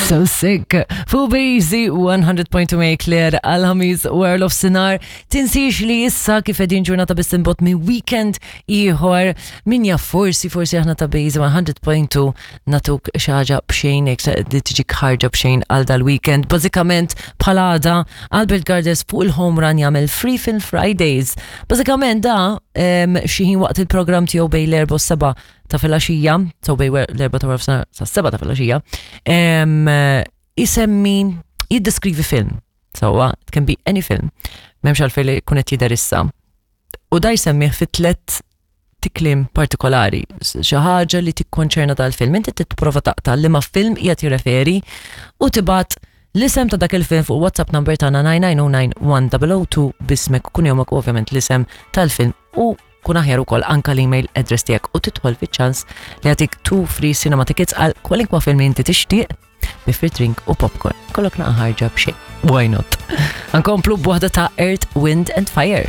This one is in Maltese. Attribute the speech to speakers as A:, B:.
A: So sick. Fu Bazy 100.2 Claire għal-ħamis World of Sinar. Tinsiex li issa kif edin ġurnata biss imbot minn weekend ieħor min jaf forsi forsi aħna ta' Bazy 100.2 natuk xi ħaġa b'xejn jekk li tiġi ħarġa b'xejn għal dal-weekend. Bażikament bħala għada Albert Gardes fuq il-home run jagħmel Free Film Fridays. Bażikament da xi ħin waqt il-programm tiegħu bejn l-4 u s-7 ta' filgħaxija, so bejn l-4 ta' wara sa' 7 ta' filgħaxija, isemmi jiddeskrivi film. So, it can be any film. M'hemmx għalfejn li jkun qed jidher issa. U da jsemmih fi tlet kliem partikolari, xi ħaġa li tikkonċerna dal-film. Inti tipprova taqta' liema film qiegħed jirreferi u tibgħat l-isem ta' dak il-film fuq WhatsApp number tagħna 9909102 b'ismek kunjomek u ovvjament l-isem tal-film u kun aħjar ukoll anka l-email address tiegħek u tidħol fiċ-ċans li jagħtik two free cinema tickets għal kwalinkwa film li inti tixtieq bi free drink u popcorn. Kollok naqa ħarġa b'xejn. Why not? Nkomplu b'waħda ta' Earth, Wind and Fire.